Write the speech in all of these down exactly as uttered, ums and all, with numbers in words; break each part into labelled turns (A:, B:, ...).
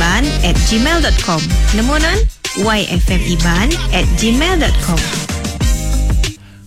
A: yfmiban at gmail dot com. Nemu nan? yfmiban at gmail dot com.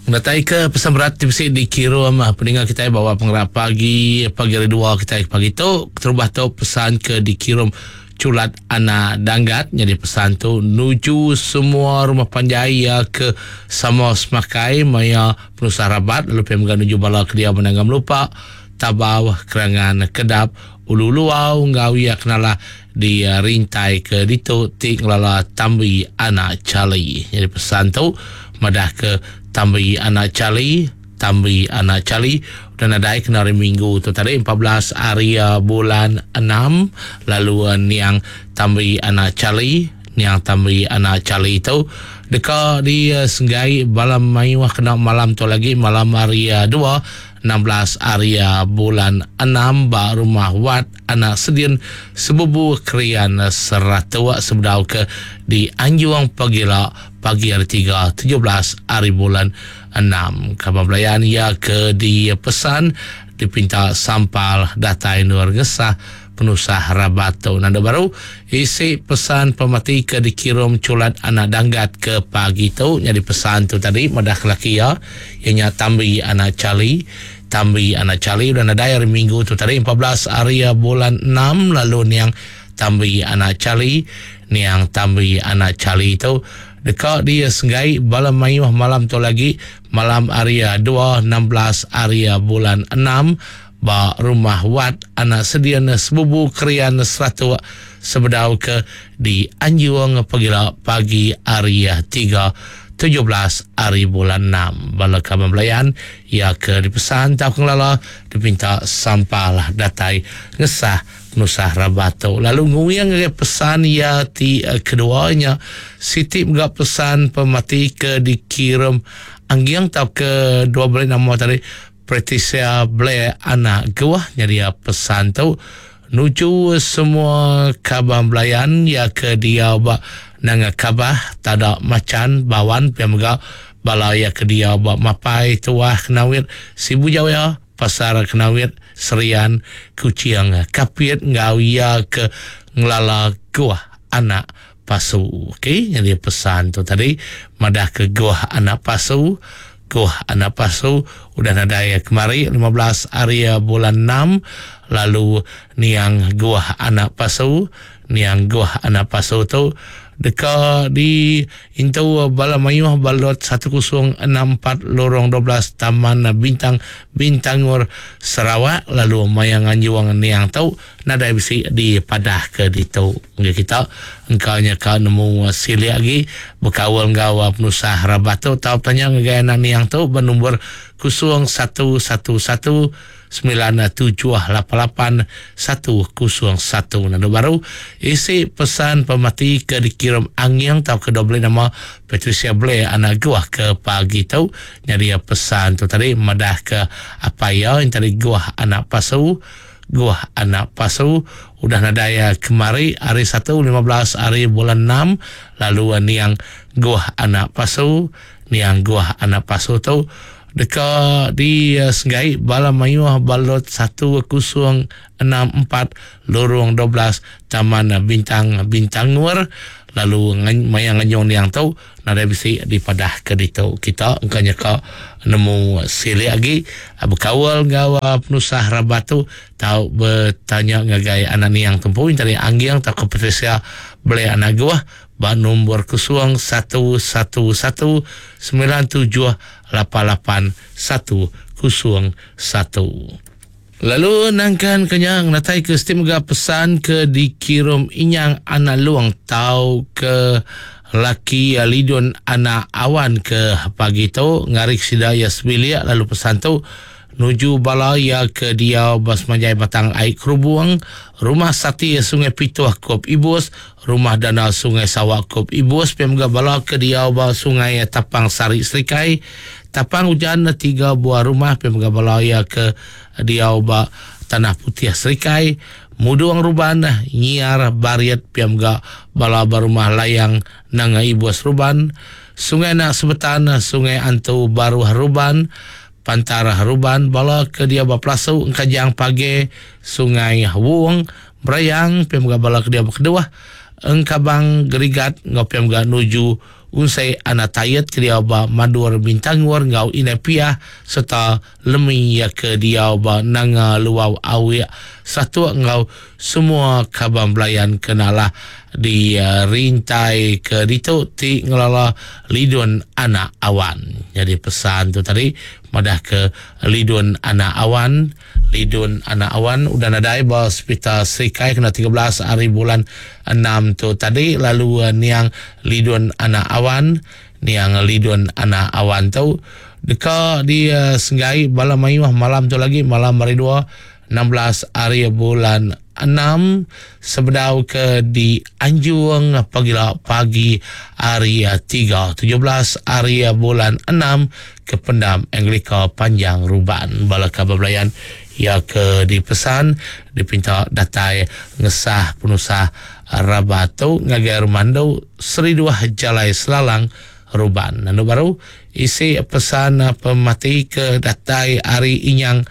B: Datai ke pesan berat ti bisi dikirum peninga kitai bawa pengerap pagi pagi hari dua kitai pagi tu. Keterubah tu pesan ke dikirum Culat Anak Danggat. Jadi pesan tu nuju semua rumah panjai ya ke sama semakai maya penusah rabat, lalu pia mega nuju bala ke dia menanggam lupa Tabau Kerangan Kedap Ulu Luau ngau ia kenala di rintai ke ditu ti ngelala Tambi Anak Charlie. Jadi pesan tu madah ke Tambi Anak Charlie, Tambi Anak Charlie dan nadai kena hari Minggu tu tadi empat belas hari bulan enam, lalu niang Tambi Anak Charlie, niang Tambi Anak Charlie tu deka di senggai bala mayuh kena malam tu lagi malam hari dua enam belas hari bulan enam ba rumah Wat Anak Sedin Sebubu Krian Seratuk sebedau ke di Anjung Pagila pagi hari tiga tujuh belas hari bulan enam. Kabar belayan ia ke dipesan dipinta sampal datai nur ngesah penusah rabat tu. Nanda baru isi pesan pemati ke dikirum Culat Anak Danggat ke pagi tu. Jadi pesan tu tadi madah kelaki ia ianya Tambi Anak Charlie. Tambi Anak Charlie udah nadai hari Minggu tu tadi empat belas hari bulan enam, lalu niang Tambi Anak Charlie, niang Tambi Anak Charlie tu deka dia senggai bala mayuh malam tu lagi malam hari dua enam belas hari bulan enam ba rumah Wat Anak Sedian Sebubu Krian Seratuk sebedau ke di Anjung Pagila pagi hari tiga tujuh belas hari bulan enam. Bala kaban belayan ia ke dipesan tau kengelala dipinta sampal datai ngesah penusah rabat tu. Lalu nguyang ngagai pesan ia ti keduanya Siti mega pesan pemati ke dikirim Anggiang tau ke dua belas nama tadi Patricia Blair Anak Guah. Jadi pesan tu nuju semua kaban belayan ya ke dia ba nanga kabah tada macan bawan pia mega bala ya ke dia ba mapai tuah Kenawit Sibu Jaya Pasar Kenawit Serian Kuching Kapit ngau ya ke ngelala Guah Anak Pasu. Okey, jadi pesan tu tadi madah ke Guah Anak Pasu. Guah Anak Pasu udah nadai kemari lima belas hari bulan enam, lalu niang Guah Anak Pasu, niang Guah Anak Pasu tu deka di intu bala mayuh balot satu kosong enam empat lorong dua belas Taman Bintang Bintangor Sarawak, lalu mayang anjuang niang tu nadai bisi di padah ke ditu. Ngi kita engkaunya ka nemu silik lagi bekawal ngau penusah rabat tu tau tanya ngagai anak niang tu bernombor kosong satu satu satu sembilan tujuh lapan lapan satu kosong satu. Nanda baru isi pesan pemati ke dikirim Angiang tau ke dua belas nama Patricia Blair Anak Guah ke pagi tu. Jadi pesan tu tadi madah ke apa ya yang tadi Guah Anak Pasu, Guah Anak Pasu udah nadai kemari hari satu lima belas hari bulan enam, lalu niang Guah Anak Pasu, niang Guah Anak Pasu tu deka di senggai bala mayuh balot satu kosong enam empat lorong dua belas Taman Bintang Bintangor, lalu mayang nganyong niang tu nadai bisi dipadah ke ditu. Kita engkanya ka nemu silik lagi bekawal ngau penusah rabat tu tau bertanya ngagai anak niang tempu tadi Anggiang tau ke Patricia Blair Anak Guah ba nombor kosong satu satu satu sembilan tujuh lapan lapan satu kosong satu. Lalu nangkan kenyang natai ke stim ga pesan ke dikirim Inyang Anak Luang tau ke laki Lidun Anak Awan ke pagi tu ngarik sida ya sebilik, lalu pesan tu nuju bala ya ke dia basmanjai Batang Air Kerubung, Rumah Sati Sungai Pituh Kop Ibus, Rumah Dana Sungai Sawak Kop Ibus, pemga bala ke dia ba Sungai Tapang Sari Serikai, Tapang Hujan tiga buah rumah, pemga bala ya ke dia ba Tanah Putih Serikai, Muduang Ruban Nyiar Bariat, pemga bala ba Rumah Layang Nanga Ibus Ruban, Sungai Nak Sebetan, Sungai Antu Baruh Ruban, Pantara Ruban, bala ke dia ba Pelasu Engkajang Page, Sungai Wung, Berayang pia mega bala ke diau ba Keduh Engkabang Gerigat enggau pia mega nuju Unsei Anak Tayet ke diau ba Madur Bintangor enggau Indai Piah sereta Lemi iya ke diau ba Nanga Luau Awik Satuk enggau semua kaban belayan ke nalah di rintai ke ditu ti ngelala Lidun Anak Awan. Nyadi pesan tu tadi madah ke Lidun Anak Awan, Lidun Anak Awan udah nadai ba Sepital Serikai kena tiga belas hari bulan enam tu tadi lalu niang Lidun Anak Awan, niang Lidun Anak Awan tu deka disenggai bala mayuh malam tu lagi malam hari dua enam belas hari bulan enam sebedau ke dianjung pagila pagi hari tiga tujuh belas hari bulan enam ke pendam Anglika Panjang Ruban. Bala kaban belayan ia ke dipesan dipinta datai ngesah penusah rabat tu ngagai Rumandu Seri Dua Jalai Selalang Ruban. Lalu baru isi pesan pemati ke datai hari Inyang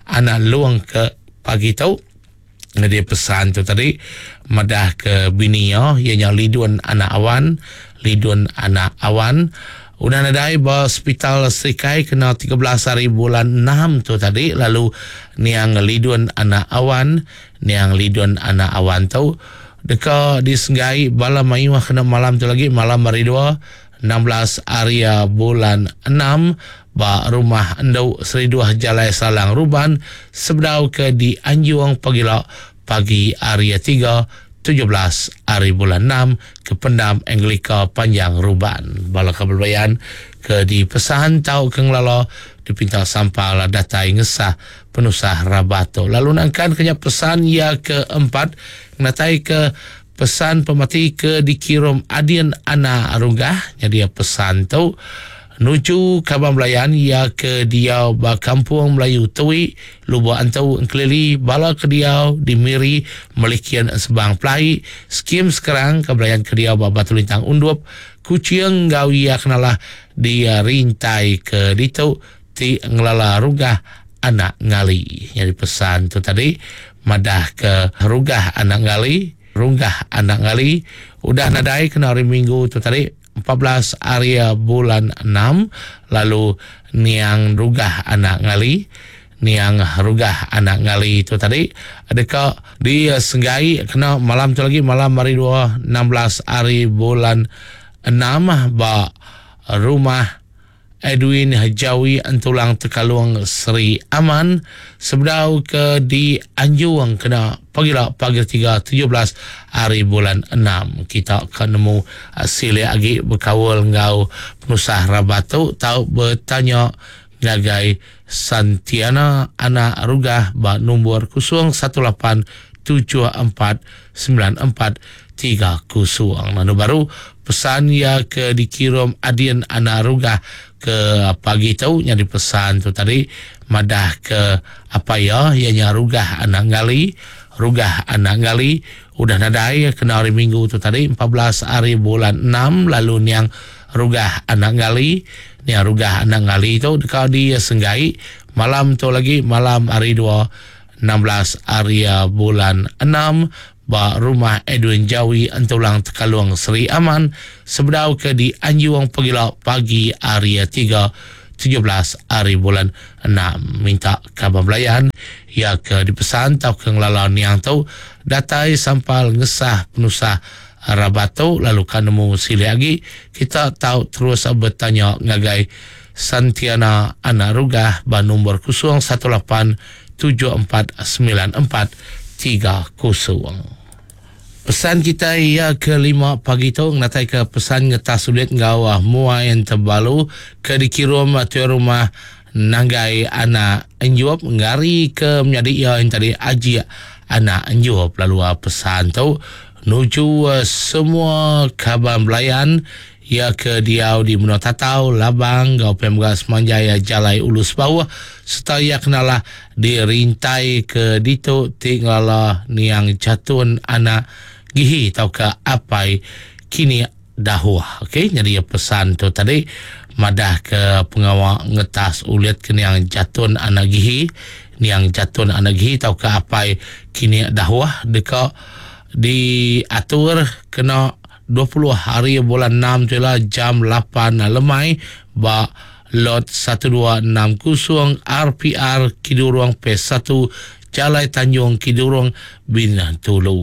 B: Anak Luang ke pagi tu. Jadi pesan tu tadi madah ke bini ia ianya Lidun Anak Awan, Lidun Anak Awan udah nadai ba Hospital Serikai kena tiga belas hari bulan enam tu tadi lalu niang Lidun Anak Awan, niang Lidun Anak Awan tu deka disenggai bala mayuh kena malam tu lagi malam hari dua enam belas hari bulan enam ba rumah Enduk Seri Dua Jalai Salang Ruban sebedau ke dianjung pagila pagi hari tiga tujuh belas hari bulan enam ke pendam Anglika Panjang Ruban. Bala kaban belayan ke dipesan tau ke ngelala dipinta sampal datai ngesah penusah rabat tu. Lalu nangkan kenya pesan ia keempat ngatai ke pesan pemati ke dikirim Adin Anak Runggah. Jadi pesan tu nuju kaban belayan ia ke diau ba Kampung Melayu Tui Lubuk Antu Engkelili bala ke diau di Miri Melikian Sebang Pelai skim sekarang ke belayan ke diau ba Batu Lintang Undup Kuching ngau ia kenalah di rintai ke ditu ti ngelala Runggah Anak Ngali. Jadi pesan tu tadi madah ke Runggah Anak Ngali, Runggah Anak Ngali udah nadai kena hari Minggu tu tadi empat belas hari bulan enam lalu niang Runggah Anak Ngali, niang Runggah Anak Ngali tu tadi deka disenggai kena malam tu lagi malam hari dua enam belas hari bulan enam ba rumah Edwin Jawi Entulang Tekalung Seri Aman sebedau ke dianjung kena pagila pagi tiga tujuh belas hari bulan enam. Kita akan nemu silik lagi berkawal ngau penusah rabat tu tau bertanya ngagai Santiana Anak Rugah ba nombor kosong satu lapan tujuh empat sembilan empat tiga kosong. Lalu baru pesan ia ke dikirim Adin Anak Rugah ke pagi tu nyari pesan tu tadi madah ke apa ya ianya Rugah Anak Ngali, Rugah Anak Ngali udah nadai kena hari Minggu tu tadi empat belas hari bulan enam lalu niang Rugah Anak Ngali, niang Rugah Anak Ngali tu dekat di Senggai malam tu lagi malam hari dua enam belas hari bulan enam ba rumah Edwin Jawi Entulang Tekalung Seri Aman sebedau ke di Anjuang pagila pagi hari tiga tujuh belas hari bulan enam. Minta kabar belayan ya ke dipesan tau ke ngelala niang tu datai sampal ngesah penusah rabat tu lalu kan nemu silik lagi kita tahu terus bertanya ngagai Santiana Anak Rugah ba nombor kosong satu lapan tujuh empat sembilan empat tiga kosong. Pesan kita ia kelima pagi tu ngatai ke pesan ngetas sulit ngau muai yang terbalu ke dikirim tu rumah Nanggai Anak Enjup ngari ke menjadi ia yang tadi Aji Anak Enjup lalu pesan tu nuju semua kaban belayan ia ke diau di Menua Tatau, Labang, Gau Pemga Semanjaya Jalai Ulus Bawah serta ia kenalah dirintai ke ditu tinggallah niang jatun anak gihi tau ke apai kini Dahuah. Okey, jadi pesan tu tadi madah ke pengawa ngetas ulit ke niang Jatun anak Gihi, niang Jatun anak Gihi tau ke apai kini Dahuah deka diatur kena dua puluh hari bulan enam tu lah jam lapan lemai ba lot satu dua enam kosong R P R Kidurong P satu Jalai Tanjung Kidurong Bintulu.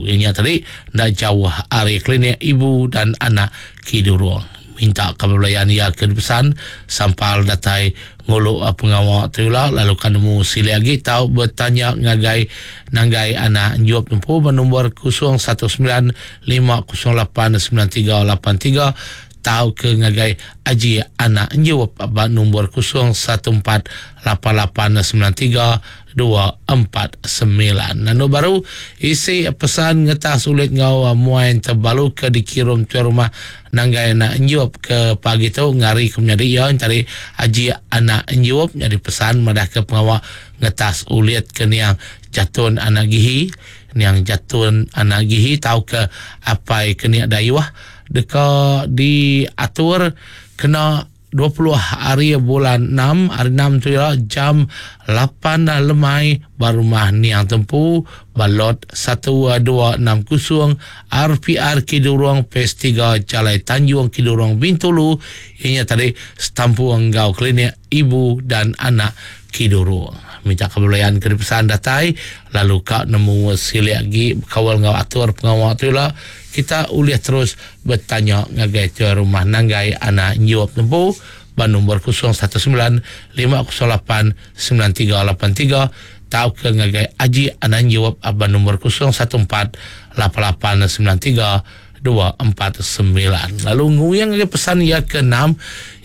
B: Ini tadi ndak jauh hari klinik ibu dan anak Kidurong. Minta kebelayan ia ke pesan sampal datai nguluk pengawal tu lah, lalu kan nemu sili lagi tau bertanya ngagai nanggai anak njuap tempu bernombor kosong satu sembilan lima kosong lapan sembilan tiga lapan tiga tau ke ngagai aji anak njuap nombor kosong satu empat lapan lapan sembilan tiga dua empat sembilan. Nanu baru isi pesan ngetas ulit ngau muain terbalu ke dikirim ke rumah nanggai anak njuap ke pagi tu ngari ke menjadi ia cari aji anak njuap jadi pesan madah ke pengawal ngetas ulit ke niang Jatun anak Gihi, niang Jatun anak Gihi tau ke apai ke niang Dayuah deka diatur kena dua puluh hari bulan enam, hari enam tu ya, jam lapan lemai barumah niang tempu balot satu dua enam kosong R P R Kidurong P S tiga Jalai Tanjung Kidurong Bintulu. Ianya tadi setampu enggau klinik ibu dan anak Kidurong. Minta kebolehan ke pesan datai lalu kak nemu silik lagi kawal ngau atur pengawal tu lah kita boleh terus bertanya ngagai tuan rumah nanggai anak njuap tempu ban nombor kosong satu sembilan lima kosong lapan sembilan tiga lapan tiga tau ke ngagai aji anak njuap ban nombor kosong satu empat lapan lapan sembilan tiga dua empat sembilan. Lalu nguyang ngagai pesan ya ke enam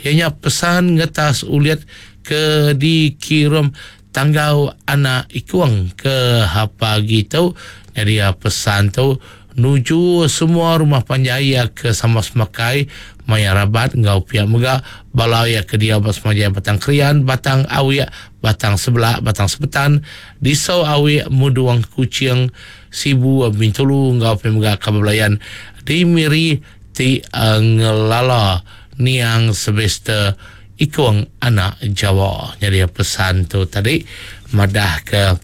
B: ianya pesan ngetas uliat ke dikirim tanggau anak ikuang ke apa gitu. Jadi pesan tu nuju semua rumah panjai ya ke sama semakai maya rabat ngau pihak mega balau ya ke dia basmajaya batang krian batang awiak batang sebelah batang sebetan disau awiak muduang kucing Sibu Bintulu ngau pihak mega kabelayan di Miri ti uh, ngelala niang semester Ikuang anak Jawa. Jadi pesan tu tadi madah ke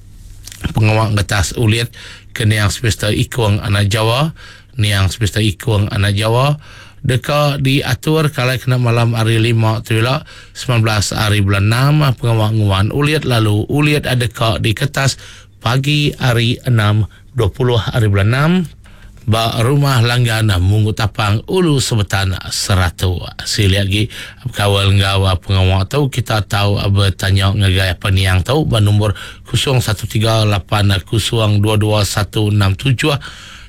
B: pengawal ngetas ulit ke niang semester Ikuang anak Jawa, niang semester Ikuang anak Jawa deka diatur kalau kena malam hari lima tu lah sembilan belas hari bulan enam pengawal nguan ulit lalu ulit ada ka di kertas pagi hari enam dua puluh hari bulan enam ba rumah langgan Munggu Tapang Ulu Sebetan Seratu. Sili lagi kawal ngau pengawal tu kita tahu bertanya ngagai apa niang tu ba nombor kosong satu tiga lapan kosong dua dua satu enam tujuh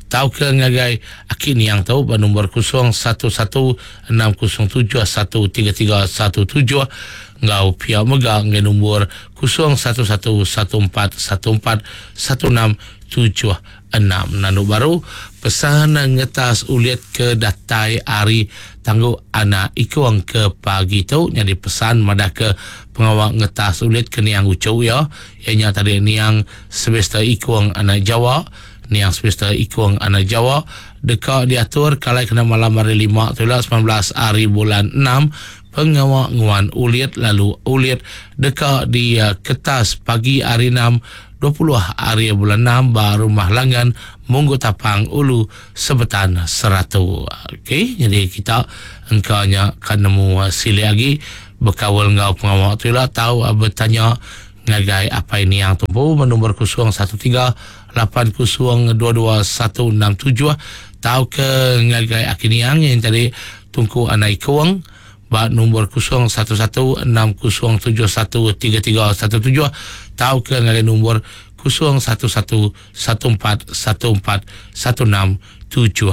B: tau ke ngagai aki niang tu ba nombor kosong satu satu enam kosong tujuh satu tiga tiga satu tujuh ngau pia mega ngai nombor kosong satu satu satu empat satu empat satu enam tujuh enam. Nanu baru pesan ngetas uliat ke datai ari tangguh anak ikuang ke pagi tu jadi pesan madah ke pengawal ngetas uliat ke niang ucu ya ianya tadi niang semester ikuang anak Jawa, niang semester ikuang anak Jawa deka diatur kalau kena malam hari lima tu lah sembilan belas hari bulan enam pengawal nguan uliat lalu uliat deka di uh, kertas pagi hari enam dua puluh hari bulan enam ba rumah langgan Munggu Tapang Ulu Sebetan Seratu. Okey, jadi kita engkaunya kan nemu sili lagi berkawal ngau pengawal tu lah tahu bertanya ngagai apa ini yang tumpu nombor kosong satu tiga lapan kosong dua dua satu enam tujuh tahu ke ngagai akiniang yang tadi tungku anak ikuang ba nombor kosong satu satu enam kosong tujuh satu tiga tiga satu tujuh tahu ke ngagai nombor kosong satu satu satu empat satu empat satu enam tujuh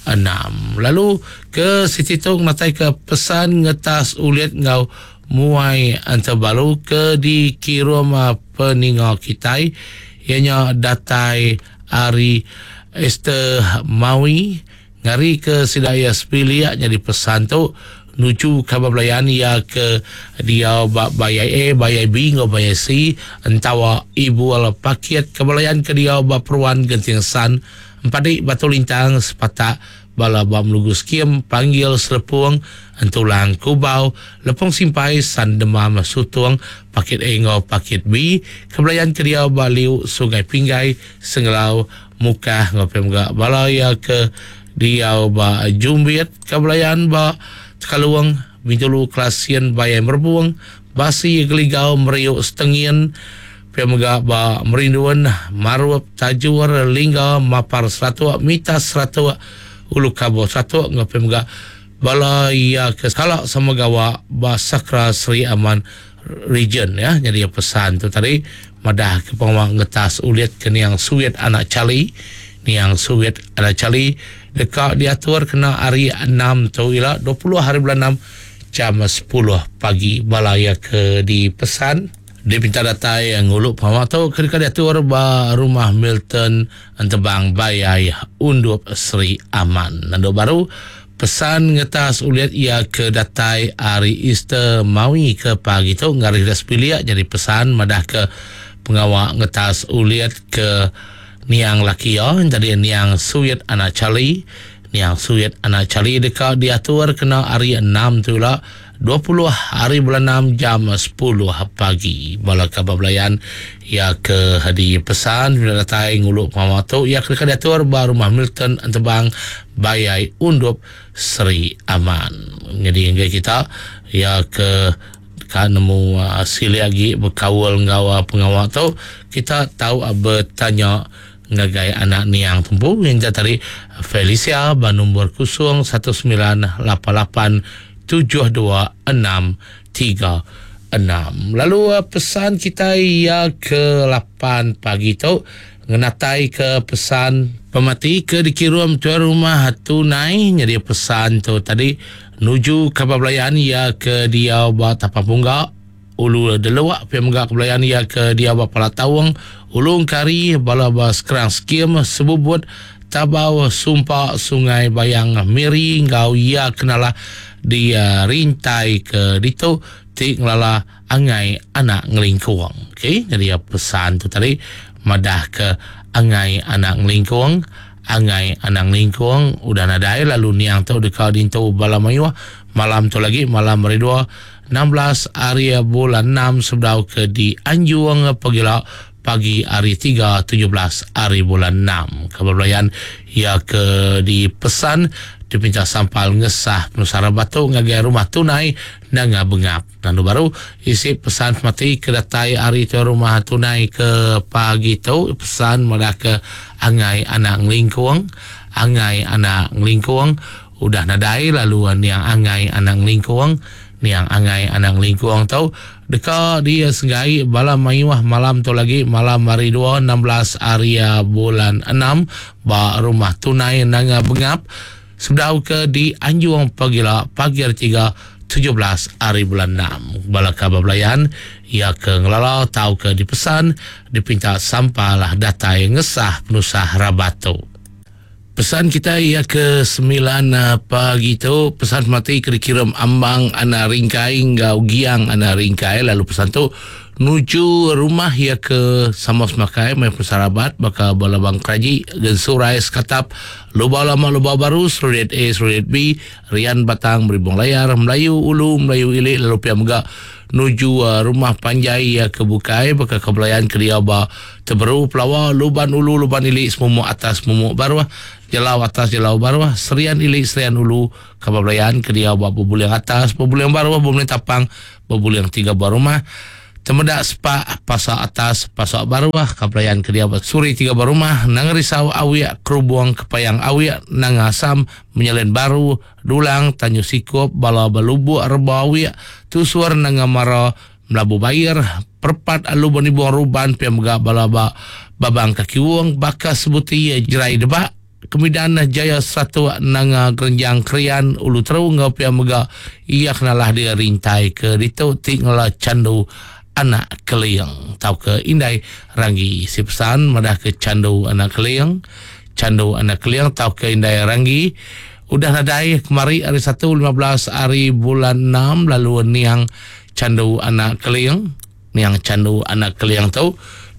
B: enam. Lalu ke Siti Tung natai ke pesan ngetas uliat ngau muai antabalu ke dikirim peninga kitai ianya datai ari Esther Mawi ngari ke sidaya sepiliak jadi pesan tu nuju khabar belayan ya ke dia bayai A, bayai B, ngau bayai C, entawa ibu ala paket kebelayan ke dia ba peruan Genting San Empadi Batu Lintang Sepatak bala ba Melugu Skim Panggil Selepung Entulang Kubau Lepung Simpai San Demam Sutung Pakit A enggau Pakit B Kebelayan ke diau ba Liu Sungai Pinggai Sengelau Mukah enggau pia mega bala iya ke diau ba Jumbit Kebelayan ba Tekalung Bintulu Kelasin Bayai Merbung Basi Geligau Meriuk Setengin pia mega ba Merindun Marup Tajur Lingga Mapar Seratuk Mitas Seratuk Ulu Kabo Seratuk enggau pia mega bala iya ke kala sama gawa ba Sakra Seri Aman Region ya. Jadi pesan tu tadi madah ke pengawa ngetas ulit ke niang Suwit anak Chali niang Suwit anak Chali deka diatur kena hari enam tu ila dua puluh hari bulan enam jam sepuluh pagi. Bala iya ke dipesan dipinta datai ngulu pengawa tu ke deka diatur ba rumah Milton Entebang Bayai Undup Seri Aman. Nandu baru pesan ngetas ulit ia ke datai hari Easter Maui ke pagi tu ngaris dah sepilik. Jadi pesan madah ke pengawa ngetas ulit ke niang laki ia jadi niang Suwit anak Chali niang Suwit anak Chali deka diatur kena hari enam tu lah dua puluh hari bulan enam jam sepuluh pagi. Bala kabar belayan ia ke di pesan bila datai ngulu pengawa tu ia ke diatur ba rumah Milton Entebang Bayai Undup Seri Aman. Jadi hingga kita ia ke ka nemu uh, sili lagi berkaul enggau uh, pengawa tu kita tahu uh, bertanya ngagai anak niang tumpu yang tadi Felicia ba nombor kosong satu sembilan lapan lapan tujuh dua enam tiga enam. Lalu pesan kita ia ke lapan pagi tu ngenatai ke pesan pemati ke dikirim tuan rumah tunai. Jadi pesan tu tadi nuju kabar belayan ia ke dia ba Tapang Pungga Ulu Deluak pia mega kebelayan ia ke dia ba Palatawang Ulung Kari bala ba Sekerang Skim Sebubut Tabau Sumpa Sungai Bayang Miri ngau ia kenalah dia rintai ke ditu ti ngelala angai anak ngelingkuang. Okey, jadi pesan tu tadi madah ke angai anak ngelingkuang, angai anak ngelingkuang udah nadai lalu niang tu deka dintu bala mayuh malam tu lagi malam hari dua enam belas hari bulan enam sebedau ke di Anjung pegila pagi hari tiga tujuh belas hari bulan enam. Kebelayan ia ke dipesan dipinta sampal ngesah penusara batu ngagai rumah tunai nanga bengap. Lalu baru isi pesan mati ke datai hari tu rumah tunai ke pagi tu pesan madah ke angai anak ngelingkuang, angai anak ngelingkuang udah nadai lalu niang angai anak ngelingkuang, niang angai anak ngelingkuang tu deka dia senggai bala mayuh malam tu lagi malam hari dua enam belas hari bulan enam ba rumah tunai nanga bengap sebedau ke di Anjung pagila pagi hari tiga tujuh belas hari bulan enam. Bala kabar belayan ia ke ngelala tau ke dipesan dipinta sampalah datai ngesah penusah rabatu. Pesan kita ia ke sembilan pagi tu pesan mati ke dikirim ambang anak ringkai ngau giang anak ringkai lalu pesan tu nuju rumah ia ke Samos Makai mai persarabat bakal bala bang Kraji Gensurai Sekatap Lubau Lama Lubau Baru Serudet A Serudet B Rian Batang Meribung Layar Melayu Ulu Melayu Ilik lalu pia mega nuju uh, rumah panjai ia ke Bukai bakal kebelayan ke dia ba Teberu Pelawa Luban Ulu Luban Ilik Semumuk Atas Semumuk Baru Jelau Atas Jelau Baru Serian Ilik Serian Ulu kebelayan ke dia ba Bebuliang Atas Bebuliang Baru Bebuliang Tapang Bebuliang Tiga Buah Rumah Temedak Sepak Pasar Atas Pasar Baru kebelayan ke dia ba Suri Tiga Buah Rumah Nangerisau Awiak Kerubuang Kepayang Awiak Nangasam Menyelen Baru Dulang Tanyu Sikup Bala Balubuk Reba Awiak Tusur Nangamara Melabu Bayar Perpat Alu Bonibuang Ruban Piamga Bala Ba Babang Kaki Wong Bakas Sebuti Jerai Debak Kemidan Jaya Satu Nanga Gerenjang Krian Ulu Teru ngau piamga ia kenalah dia rintai ke ditu tinggal candu anak keliang tau ke indai ranggi si pesan madah ke candu anak keliang candu anak keliang tau ke indai ranggi udah nadai kemari hari satu lima belas hari bulan enam lalu niang candu anak keliang niang candu anak keliang tu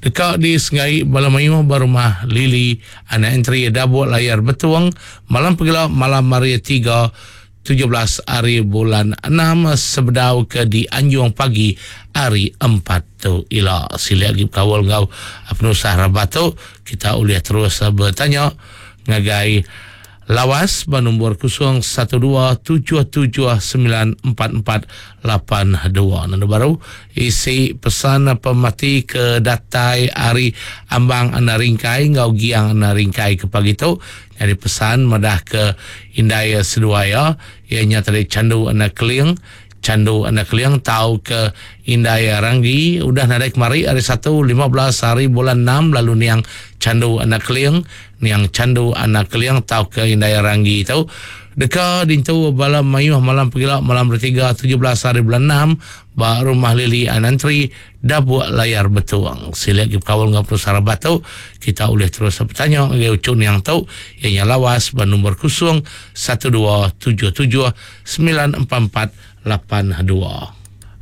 B: Deka di Sengai Bala Mayuh Berumah Lili Anak Entri Dabuk Layar Betung malam pegila malam hari tiga tujuh belas hari bulan enam sebedau ke di Anjung pagi hari empat tu ila. Sila lagi kawal ngau penusah rabat tu kita boleh terus bertanya ngagai Lawas bernombor kosong satu dua tujuh tujuh sembilan empat empat lapan dua. Nombor baru isi pesan pemati ke datai hari Ambang Anda Ringkai ngau Giang Anda Ringkai ke pagi tu. Jadi pesan madah ke indai seduaya ianya tadi Candu Anda Keling. Candu Anda Keling tau ke indai Ranggi udah nadai kemari hari satu lima belas hari bulan enam lalu niang Candu Anda Keling niang Candu Anak Keling tau ke indai Ranggi tu deka dintu bala mayuh malam pegila malam bertiga tujuh belas hari bulan enam ba rumah Lili Anantri Dabuk Layar Betuang. Sila lagi kawal ngau perusara batu kita boleh terus bertanya ngagai ucun yang tu ianya Lawas ba nombor kosong satu dua tujuh tujuh sembilan empat empat lapan dua.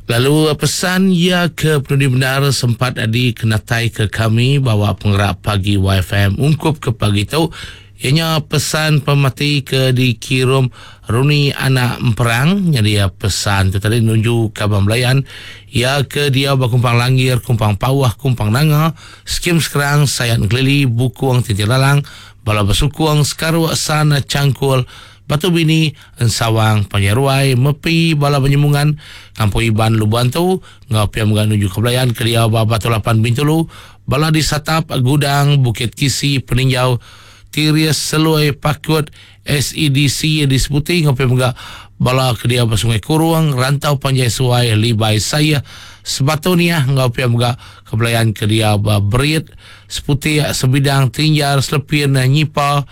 B: Lalu pesan ia ke penudi benar sempat adi kenatai ke kami bawa penggerak pagi Y F M ungkup ke pagi tu ianya pesan pemati ke dikirim Runi Anak Emperang. Jadi ya pesan tu tadi menuju Kabang Belayan ia ke dia berkumpang Langir, Kumpang Pawah, Kumpang Nanga, Skim Sekerang, Sayan Kelili, Bukuang Tinti Lalang, Bala Besukung, Sekaruk San Cangkul, Batu Bini, Ensawang, Panjaruai, Mepi, Bala Penyemungan, Kampung Iban, Lubantu, Ngau Piam Gan menuju Kebelayan, Kelia Batu Lapan Bintulu, Bala di Satap, Gudang, Bukit Kisi, Peninjau, Tirias, Seloi, Pakut, S E D C di Seputi, Ngau Piam Gan Bala Kedia Sungai Kurung, Rantau Panjai Suai, Libai Saya, Sebatonia, Ngau Piam Gan Kebelayan Kedia Berit, Seputi, Sebidang, Tinjar, Selepin, Nyipa,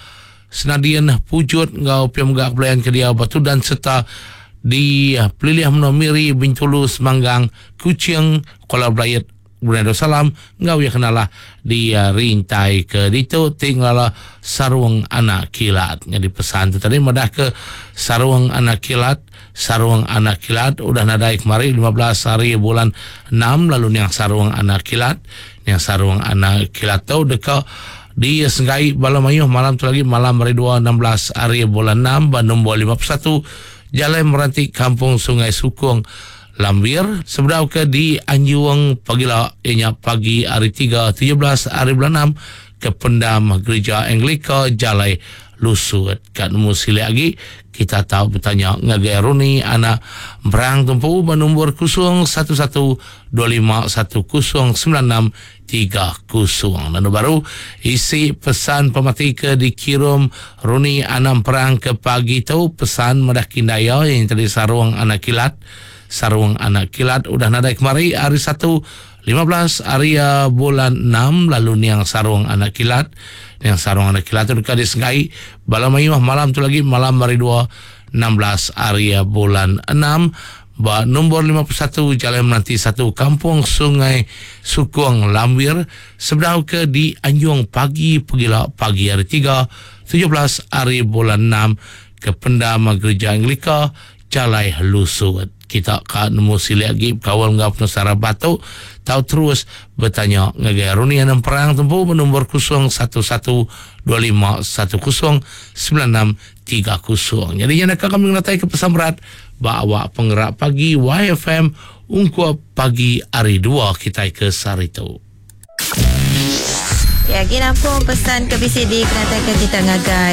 B: Senadian Pujut ngau piam gak pelayan kedia Batu dan serta di Peliliah Menomiri Bintulu Semanggang Kuching Kuala Belayat Brunei Darussalam ngau ya kenalah di rintai ke ditu tinggal sarung anak kilat. Jadi pesan tu tadi madah ke sarung anak kilat, sarung anak kilat udah nadai kemari lima belas hari bulan enam lalu niang sarung anak kilat, niang sarung anak kilat tu dekat di Senggai Bala Mayuh malam tu lagi malam hari dua enam belas hari bulan enam nombor lima puluh satu Jalan Meranti Kampung Sungai Sukung Lambir sebedau ke di Anjuang pagila ianya pagi hari tiga tujuh belas hari bulan enam ke pendam Gereja Anglika Jalai Lusut. Kat nemu silik lagi kita tahu bertanya ngagai Runi anak berang tumpu bernombor kosong satu satu dua lima satu kosong sembilan enam tiga kosong. Lalu baru isi pesan pemati ke dikirim Runi anak perang ke pagi tu pesan madah kindaya yang tadi sarung anak kilat. Sarung anak kilat udah nadai kemari hari satu lima belas hari bulan enam lalu niang sarung anak kilat. Niang sarung anak kilat tu dekat di Sengai Bala Mayuh malam tu lagi malam hari dua enam belas hari bulan enam ba nombor lima puluh satu Jalan Menanti satu Kampung Sungai Sukung Lambir sebedau ke di Anjung pagi pegila pagi hari tiga tujuh belas hari bulan enam ke pendam Gereja Anglika Jalai Lusut. Kita ka nemu silik lagi kawal ngau penusara batu tau terus bertanya ngagai Runi Anam Perang tempu bernombor kosong satu satu dua lima satu kosong sembilan enam tiga kosong. Jadi yang nak kami ngatai ke pesan berat bawa penggerak pagi Y F M ungkup pagi hari dua kita ke Sarito.
A: Ya, gini pun pesan ke B C D kena ke kita ngagai